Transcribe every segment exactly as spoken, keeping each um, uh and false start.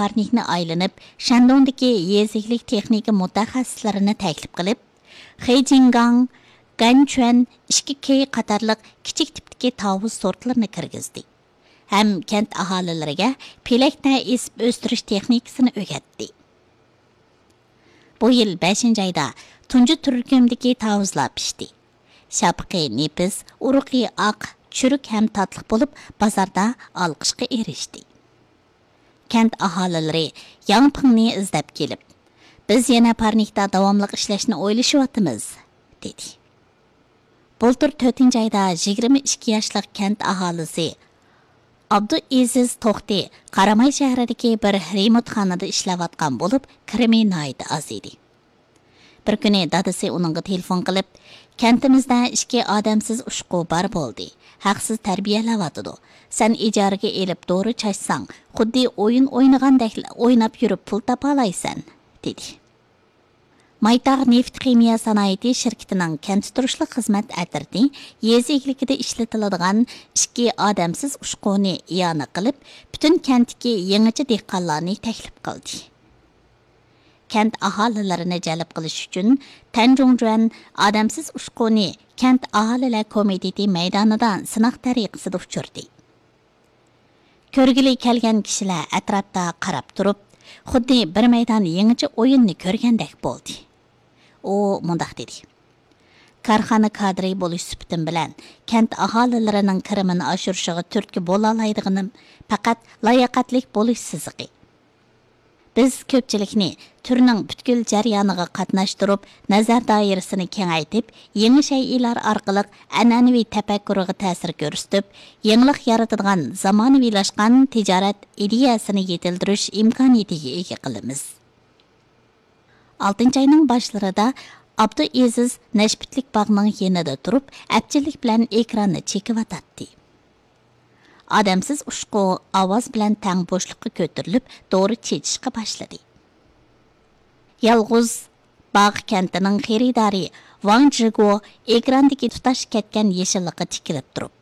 پارنىكنى ئايلىنىپ، شەندۇڭدىكى يېزا ئىگىلىك تېخنىكا مۇتەخەسسىسلىرىنى تەكلىپ قىلىپ، خېجىڭگاڭ، گەنچۈەن، ئىككى كېي قاتارلىق كىچىك تىپتىكى تاۋۇز سورتلىرىنى كىرگۈزدى ھەم كەنت ئاھالىلىرىگە پېلەكنە ئېسىپ ئۆستۈرۈش تېخنىكىسىنى ئۆگەتتى. بۇ يىل بەشىنچى ئايدا تۇنجى تۈركۈمدىكى تاۋۇزلار پىشتى. شاپىقى نېپىز، ئۇرۇقى ئاق، چۈرۈك ھەم تاتلىق بولۇپ، بازاردا ئالقىشقا ئېرىشتى. كەنت ئاھالىلىرى ياڭ پىڭنى ئىزدەپ كېلىپ، «بىز يەنە پارنىكتا داۋاملىق ئىشلەشنى ئويلىشىۋاتىمىز» دېدى. بۇلتۇر تۆتىنچى ئايدا يىگىرمە ئىككى ياشلىق كەنت ئاھالىسى ئابدۇئېزىز توختى قاراماي شەھىرىدىكى بىر رېمونتخانىدا ئىشلەۋاتقان بولۇپ، كىرىمى ناھايىتى ئاز ئىدى. بىر كۈنى دادىسى ئۇنىڭغا تېلېفون قىلىپ، «كەنتىمىزدە ئىككى ئادەمسىز ئۇچقۇ بار بولدى. ھەقسىز تەربىيەلەۋاتىدۇ. سەن ئىجارىگە ئېلىپ دورا چاچساڭ، خۇددى ئويۇن ئوينىغاندەك ئويناپ يۈرۈپ پۇل تاپالايسەن» دېدى. مايتاغ نېفىت خىمىيە سانائىتى شىركىتىنىڭ كەنتتە تۇرۇشلۇق خىزمەت ئەترىتى يېزا ئىگىلىكىدە ئىشلىتىلىدىغان ئىككى ئادەمسىز ئۇچقۇنى ئىئانە قىلىپ، پۈتۈن كەنتتىكى يېڭىچە دېھقانلارنى تەكلىپ قىلدى. كەنت ئاھالىلىرىنى جەلپ قىلىش ئۈچۈن، تەنجۇڭجۈەن ئادەمسىز ئۇچقۇنى كەنت ئاھالىلەر كومىتېتى مەيدانىدا سىناق تەرىقىسىدە ئۇچۇردى. كۆرگىلى كەلگەن كىشىلەر ئەتراپتا قاراپ تۇرۇپ، خۇددى بىر مەيدان يېڭىچە ئويۇننى كۆرگەندەك بولدى. ئۇ مۇنداق دېدى: «كارخانا كادىرى بولۇش سۈپىتىم بىلەن كەنت ئاھالىلىرىنىڭ كىرىمىنى ئاشۇرۇشىغا تۈرتكە بولالايدىغىنىم پەقەت لاياقەتلىك بولۇش سىزىقى. بىز كۆپچىلىكنى تۈرنىڭ پۈتكۈل جەريانىغا قاتناشتۇرۇپ، نەزەر دائىرىسىنى كېڭەيتىپ، يېڭى شەيئىلەر ئارقىلىق ئەنئەنىۋى تەپەككۇرىغا تەسىر كۆرسىتىپ، يېڭىلىق يارىتىدىغان زامانىۋىلاشقان تىجارەت ئىدىيەسىنى يېتىلدۈرۈش ئىمكانىيىتىگە ئىگە قىلىمىز.» ئالتىنچى ئاينىڭ باشلىرىدا ئابدۇئېزىز نەشپۈتلۈك باغنىڭ يېنىدا تۇرۇپ، ئەپچىللىك بىلەن ئېكراننى چېكىۋاتاتتى. ئادەمسىز ئۇچقۇ ئاۋاز بىلەن تەڭ بوشلۇققا كۆتۈرۈلۈپ، دورا چېچىشقا باشلىدى. يالغۇز باغ كەنتىنىڭ خېرىدارى ۋاڭ جىگو ئېكراندىكى تۇتاش كەتكەن يېشىللىققا تىكىلىپ تۇرۇپ،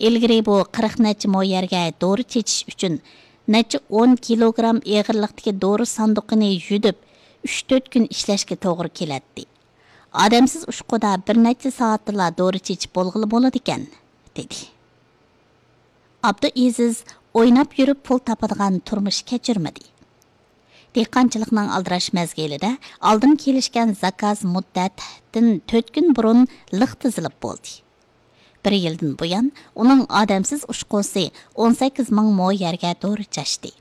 ئىلگىرى بۇ قىرىق نەچچە مو يەرگە دورا چېچىش ئۈچۈن نەچچە ئون كىلوگرام ئېغىرلىقتىكى دورا ساندۇقىنى يۈدۈپ، ئۈچ تۆت كۈن ئىشلەشكە توغرا كېلەتتى. ئادەمسىز ئۇچقۇدا بىر نەچچە سائەتتىلا دورا چېچىپ بولغىلى بولىدىكەن، دېدى. ئابدۇئېزىز ئويناپ يۈرۈپ پۇل تاپىدىغان تۇرمۇش كەچۈرمىدى. دېھقانچىلىقنىڭ ئالدىراش مەزگىلىدە ئالدىن كېلىشكەن زاكاز مۇددەتتىن تۆت كۈن بۇرۇن لىق تىزىلىپ بولدى. بىر يىلدىن بۇيان ئۇنىڭ ئادەمسىز ئۇچقۇسى ئون سەككىز مىڭ مو يەرگە دورا چاچتى.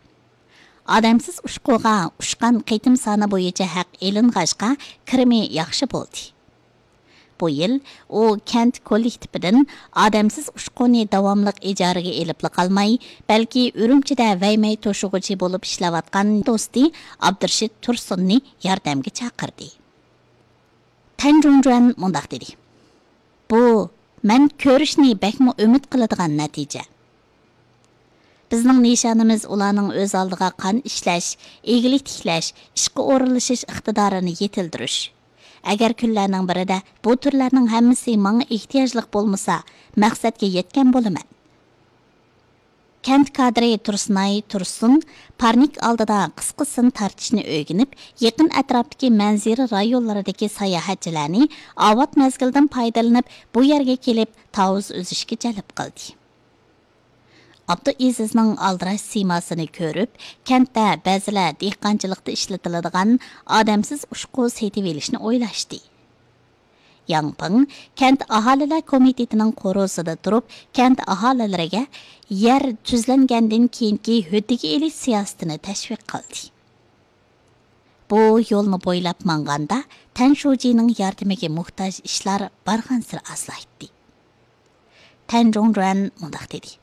ئادەمسىز ئۇچقۇغا ئۇچقان قېتىم سانى بويىچە ھەق ئېلىنغاچقا، كىرىمى ياخشى بولدى. بۇ يىل ئۇ كەنت كوللېكتىپىدىن ئادەمسىز ئۇچقۇنى داۋاملىق ئىجارىگە ئېلىپلا قالماي، بەلكى ئۈرۈمچىدە ۋەيمەي توشۇغۇچى بولۇپ ئىشلەۋاتقان دوستى ئابدۇرېشىت تۇرسۇننى ياردەمگە چاقىردى. تەن جۇڭجۈەن مۇنداق دېدى: «بۇ مەن كۆرۈشنى بەكمۇ ئۈمىد قىلىدىغان نەتىجە. بىزنىڭ نىشانىمىز ئۇلارنىڭ ئۆز ئالدىغا قان ئىشلەش، ئىگىلىك تىكلەش، ئىشقا ئورۇنلىشىش ئىقتىدارىنى يېتىلدۈرۈش. ئەگەر كۈنلەرنىڭ بىرىدە بۇ تۈرلەرنىڭ ھەممىسى ماڭا ئېھتىياجلىق بولمىسا، مەقسەتكە يەتكەن بولىمەن.» كەنت كادىرى تۇرسۇنئاي تۇرسۇن پارنىك ئالدىدا قىسقا سىن تارتىشنى ئۆگىنىپ، يېقىن ئەتراپتىكى مەنزىرە رايونلىرىدىكى ساياھەتچىلەرنى ئاۋات مەزگىلدىن پايدىلىنىپ، بۇ يەرگە كېلىپ تاۋۇز ئۈزۈشكە جەلپ قىلدى. ئابدۇئېزىزنىڭ ئالدىراش سىيماسىنى كۆرۈپ، كەنتتە بەزىلەر دېھقانچىلىقتا ئىشلىتىلىدىغان ئادەمسىز ئۇچقۇ سېتىۋېلىشنى ئويلاشتى. ياڭ پىڭ كەنت ئاھالىلەر كومىتېتىنىڭ قورۇسىدا تۇرۇپ، كەنت ئاھالىلىرىگە يەر تۈزلەنگەندىن كېيىنكى ھۆددىگە ئېلىش سىياسىتىنى تەشۋىق قىلدى. بۇ يولنى بويلاپ ماڭغاندا، تەن شۇجىنىڭ ياردىمىگە موھتاج ئىشلار بارغانسېرى ئازلايتتى. تەن جۇڭجۈەن مۇنداق دېدى: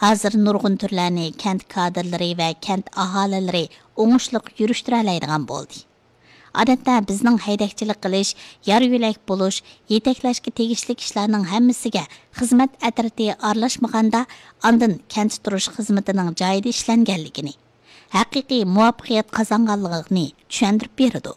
«ھازىر نۇرغۇن تۈرلەرنى كەنت كادىرلىرى ۋە كەنت ئاھالىلىرى ئوڭۇشلۇق يۈرۈشتۈرەلەيدىغان بولدى. ئادەتتە بىزنىڭ ھەيدەكچىلىك قىلىش، يار يۆلەك بولۇش، يېتەكلەشكە تېگىشلىك ئىشلارنىڭ ھەممىسىگە خىزمەت ئەترىتى ئارىلاشمىغاندا، ئاندىن كەنتتە تۇرۇش خىزمىتىنىڭ جايىدا ئىشلەنگەنلىكىنى، ھەقىقىي مۇۋەپپەقىيەت قازانغانلىقىنى چۈشەندۈرۈپ بېرىدۇ.»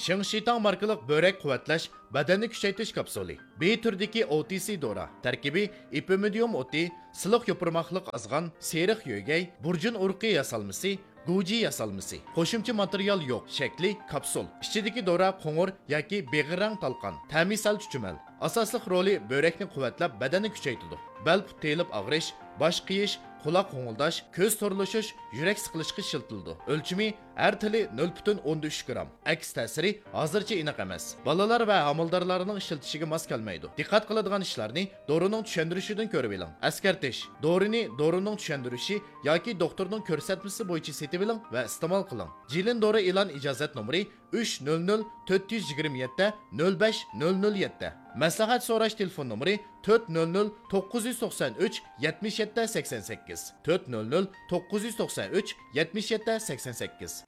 شىڭ شىتاڭ ماركىلىق بۆرەك قۇۋۋەتلەش، بەدەننى كۈچەيتىش كاپسۇلى. بى تۈرىدىكى ئو تى سى دورا. تەركىبى ئېپىمىدىيۇم ئوتى، سىلىق يوپۇرماقلىق ئازغان، سېرىق يۆگەي، بۇرجۇن ئۇرۇقى ياسالمىسى، گۇجى ياسالمىسى. قوشۇمچە ماتېرىيال يوق. شەكلى كاپسۇل. ئىچىدىكى دورا قوڭۇر ياكى بېغىر رەڭ تالقان. تەمى سەل چۈچۈمەل. ئاساسلىق رولى بۆرەكنى قۇۋۋەتلەپ، بەدەننى كۈچەيتىدۇ. بەل پۇت تېيىلىپ ئاغرىش، باش قېيىش، قۇلاق غوڭۇلداش، كۆز تورلىشىش، يۈرەك سىقىلىشقا ئىشلىتىلىدۇ. ئۆلچىمى ھەر تىلى نۆل پۈتۈن ئوندىن ئۈچ گرام. ئەكس تەسىرى ھازىرچە ئېنىق ئەمەس. بالىلار ۋە ھامىلىدارلارنىڭ ئىشلىتىشىگە ماس كەلمەيدۇ. دىققەت قىلىدىغان ئىشلارنى دورىنىڭ چۈشەندۈرۈشىدىن كۆرۈۋېلىڭ. ئەسكەرتىش: دورىنى دورىنىڭ چۈشەندۈرۈشى ياكى دوختۇرنىڭ كۆرسەتمىسى بويىچە سېتىۋېلىڭ ۋە ئىستېمال قىلىڭ. جىلىن دورا ئېلان ئىجازەت نومۇرى ئۈچ نۆل نۆل تۆت يۈز يىگىرمە يەتتە نۆل بەش نۆل نۆل يەتتە. مەسلىھەت سوراش تېلېفون نومۇرى تۆت نۆل نۆل توققۇز يۈز توقسان ئۈچ يەتمىش يەتتە سەكسەن سەككىز، تۆت نۆل نۆل توققۇز يۈز توقسان ئۈچ يەتمىش يەتتە سەكسەن سەككىز.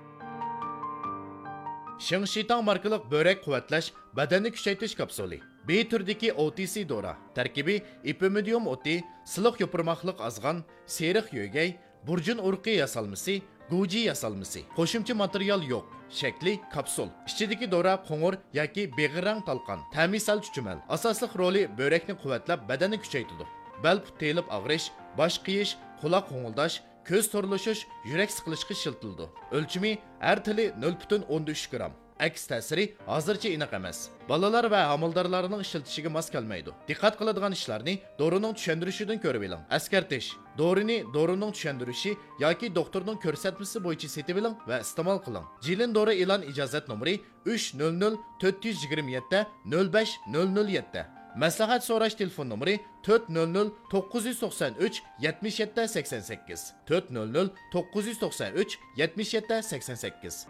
شىڭ شىتاڭ ماركىلىق بۆرەك قۇۋۋەتلەش، بەدەننى كۈچەيتىش كاپسۇلى. بى تۈرىدىكى ئو تى سى دورا. تەركىبى ئېپىمىدىيۇم ئوتى، سىلىق يوپۇرماقلىق ئازغان، سېرىق يۆگەي، بۇرجۇن ئۇرۇقى ياسالمىسى، گۇجى ياسالمىسى. قوشۇمچە ماتېرىيال يوق. شەكلى كاپسۇل. ئىچىدىكى دورا قوڭۇر ياكى بېغىر رەڭ تالقان. تەمى سەل چۈچۈمەل. ئاساسلىق رولى بۆرەكنى قۇۋۋەتلەپ، بەدەننى كۈچەيتىدۇ. بەل پۇت تېيىلىپ ئاغرىش، باش قېيىش، قۇلاق غوڭۇلداش، كۆز تورلىشىش، يۈرەك سىقىلىشقا ئىشلىتىلىدۇ. ئۆلچىمى ھەر تىلى نۆل پۈتۈن ئوندىن ئۈچ گرام. ئەكس تەسىرى ھازىرچە ئېنىق ئەمەس. بالىلار ۋە ھامىلىدارلارنىڭ ئىشلىتىشىگە ماس كەلمەيدۇ. دىققەت قىلىدىغان ئىشلارنى دورىنىڭ چۈشەندۈرۈشىدىن كۆرۈۋېلىڭ. ئەسكەرتىش: دورىنى دورىنىڭ چۈشەندۈرۈشى ياكى دوختۇرنىڭ كۆرسەتمىسى بويىچە سېتىۋېلىڭ ۋە ئىستېمال قىلىڭ. جىلىن دورا ئېلان ئىجازەت نومۇرى ئۈچ نۆل نۆل تۆت يۈز يىگىرمە يەتتە نۆل بەش نۆل نۆل يەتتە. مەسلىھەت سوراش تېلېفون نومۇرى تۆت نۆل نۆل توققۇز يۈز توقسان ئۈچ يەتمىش يەتتە سەكسەن سەككىز، تۆت نۆل نۆل توققۇز يۈز توقسان ئۈچ يەتمىش يەتتە سەكسەن سەككىز.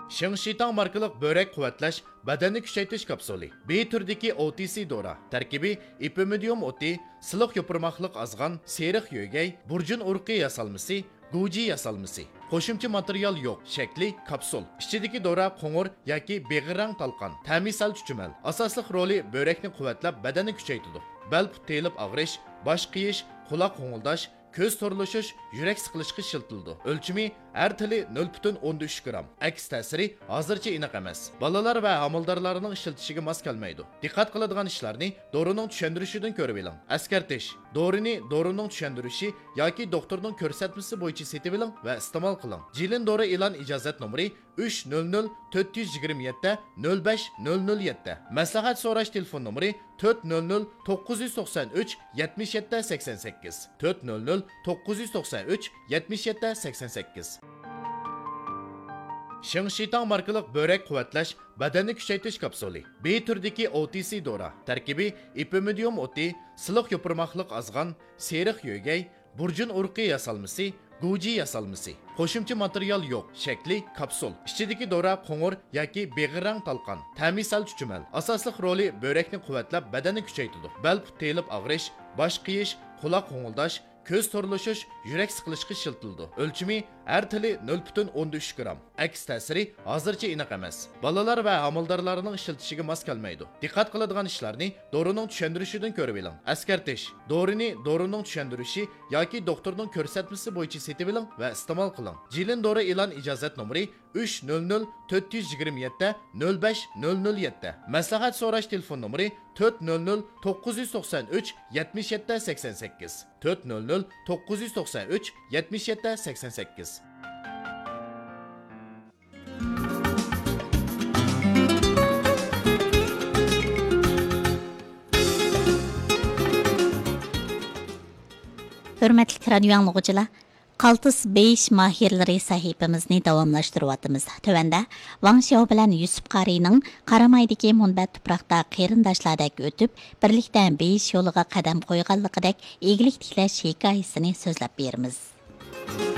شىڭ شىتاڭ ماركىلىق بۆرەك قۇۋۋەتلەش، بەدەننى كۈچەيتىش كاپسۇلى. بى تۈرىدىكى ئو تى سى دورا. تەركىبى ئېپىمىدىيۇم ئوتى، سىلىق يوپۇرماقلىق ئازغان، سېرىق يۆگەي، بۇرجۇن ئۇرۇقى ياسالمىسى، گۇجى ياسالمىسى. قوشۇمچە ماتېرىيال يوق. شەكلى كاپسۇل. ئىچىدىكى دورا قوڭۇر ياكى بېغىر رەڭ تالقان. تەمى سەل چۈچۈمەل. ئاساسلىق رولى بۆرەكنى قۇۋۋەتلەپ، بەدەننى كۈچەيتىدۇ. بەل پۇت تېيىلىپ ئاغرىش، باش قېيىش، قۇلاق غوڭۇلداش، كۆز تورلىشىش، يۈرەك سىقىلىشقا ئىشلىتىلىدۇ. ئۆلچىمى ھەر تىلى نۆل پۈتۈن ئوندىن ئۈچ گرام. ئەكس تەسىرى ھازىرچە ئېنىق ئەمەس. بالىلار ۋە ھامىلىدارلارنىڭ ئىشلىتىشىگە ماس كەلمەيدۇ. دىققەت قىلىدىغان ئىشلارنى دورىنىڭ چۈشەندۈرۈشىدىن كۆرۈۋېلىڭ. ئەسكەرتىش: دورىنى دورىنىڭ چۈشەندۈرۈشى ياكى دوختۇرنىڭ كۆرسەتمىسى بويىچە سېتىۋېلىڭ ۋە ئىستېمال قىلىڭ. جىلىن دورا ئېلان ئىجازەت نومۇرى ئۈچ نۆل نۆل تۆت يۈز يىگىرمە يەتتە نۆل بەش نۆل نۆل يەتتە. مەسلىھەت سوراش تېلېفون نومۇرى تۆت نۆل نۆل توققۇز يۈز توقسان ئۈچ يەتمىش يەتتە سەكسەن سەككىز، تۆت نۆل نۆل توققۇز يۈز توقسان ئۈچ يەتمىش يەتتە سەكسەن سەككىز. شىڭ شىتاڭ ماركىلىق بۆرەك قۇۋۋەتلەش، بەدەننى كۈچەيتىش كاپسۇلى. بى تۈرىدىكى ئو تى سى دورا. تەركىبى ئېپىمىدىيۇم ئوتى، سىلىق يوپۇرماقلىق ئازغان، سېرىق يۆگەي، بۇرجۇن ئۇرۇقى ياسالمىسى، گۇجى ياسالمىسى. قوشۇمچە ماتېرىيال يوق. شەكلى كاپسۇل. ئىچىدىكى دورا قوڭۇر ياكى بېغىر رەڭ تالقان. تەمى سەل چۈچۈمەل. ئاساسلىق رولى بۆرەكنى قۇۋۋەتلەپ، بەدەننى كۈچەيتىدۇ. بەل پۇت تېيىلىپ ئاغرىش، باش قېيىش، قۇلاق غوڭۇلداش، كۆز تورلىشىش، يۈرەك سىقىلىشقا ئىشلىتىلىدۇ. ئۆلچىمى ھەر تىلى نۆل پۈتۈن ئوندىن ئۈچ گرام. ئەكس تەسىرى ھازىرچە ئېنىق ئەمەس. بالىلار ۋە ھامىلىدارلارنىڭ ئىشلىتىشىگە ماس كەلمەيدۇ. دىققەت قىلىدىغان ئىشلارنى دورىنىڭ چۈشەندۈرۈشىدىن كۆرۈۋېلىڭ. ئەسكەرتىش: دورىنى دورىنىڭ چۈشەندۈرۈشى ياكى دوختۇرنىڭ كۆرسەتمىسى بويىچە سېتىۋېلىڭ ۋە ئىستېمال قىلىڭ. جىلىن دورا ئېلان ئىجازەت نومۇرى ئۈچ نۆل نۆل تۆت يۈز يىگىرمە يەتتە نۆل بەش نۆل نۆل يەتتە. مەسلىھەت سوراش تېلېفون نومۇرى تۆت نۆل نۆل توققۇز يۈز توقسان ئۈچ يەتمىش يەتتە سەكسەن سەككىز، تۆت نۆل نۆل توققۇز يۈز توقسان ئۈچ يەتمىش يەتتە سەكسەن سەككىز. ھۆرمەتلىك رادىيو ئاڭلىغۇچىلار، قالتىس بېيىش ماھىرلىرى سەھىپىمىزنى داۋاملاشتۇرۇۋاتىمىز. تۆۋەندە ۋاڭ شياۋ بىلەن يۈسۈپ قارىينىڭ قارامايدىكى مۇنبەت تۇپراقتا قېرىنداشلاردەك ئۆتۈپ، بىرلىكتە بېيىش يولىغا قەدەم قويغانلىقىدەك ئىگىلىك تىكلەش ھېكايىسىنى سۆزلەپ بېرىمىز.